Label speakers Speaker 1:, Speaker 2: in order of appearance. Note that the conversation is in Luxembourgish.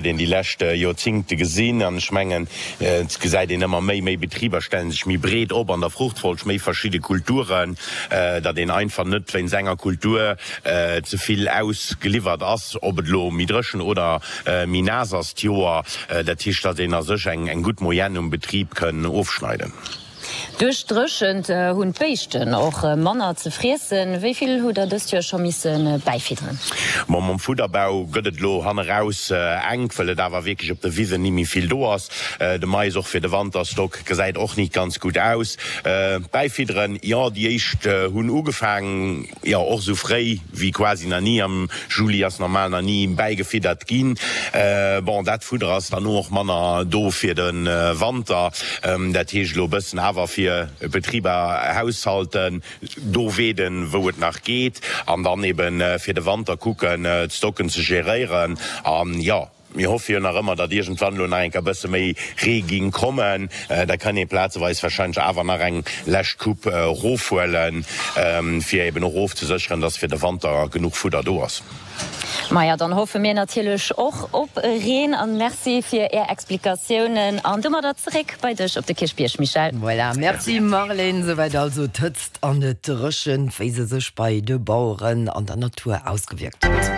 Speaker 1: Een déi lescht Joerzingte gesinn an ech mengen, et gesäit een ëmmer méi, méi Betriber stellen sech méi breet op an der Fruchtfolg, méi verschidde Kulturen, datt een einfach net wéinst enger Kultur ze vill ausgeliwwert ass, ob et elo méi dréchen oder méi naass ass d'Joer. Dat heescht, datt een a sech eng gutt Moyenne um Betrib kënn ofschneiden.
Speaker 2: Duerch d'Dréchent hunn d'Béischten och manner ze friessen. Wéi vill hutt der dëst Joer scho misse bäifidderen?
Speaker 1: Bon, mam Fudderbau gëtt et elo hanneraus enk, well et awer wierklech op de Wisen ni méi vill do ass. De Mais och fir de Wanterstock gesäit och nit ganz gutt aus. Bäifidderen, jo, déi éischt hunn ugefaangen. Jo, och sou fréi wéi quasi nach ni. Am Juli ass normal nach ni bäigefiddert ginn. Bon, dat Fudder ass dann och manner do fir de Wanter. Dat heescht elo e bëssen awer fir Betriber, Haushalten do weeden, wou et nach geet, an dann eben fir de Wanter kucken, d'Stocken ze geréieren. An jo. Mir hoffe jo nach ëmmer, datt iergendwann elo nach eng Kéier e bësse méi Ree ging kommen. Da kann ee plazeweis warscheinlech awer nach eng lescht Coupe erofhuelen, fir eben och ofzesécheren, datt fir de Wanter genuch Fudder do ass.
Speaker 2: Maja, dann hoffe mir natierlech och op Reen. An Merci fir Är Explikatiounen. An domadder zeréck bei dech op de Kierchbierg, Michèle.
Speaker 3: Voilà, Merci Marlène. Souwäit also d'Hëtzt an d'Dréchent, wéi se sech bei de Baueren an der Natur ausgewierkt huet.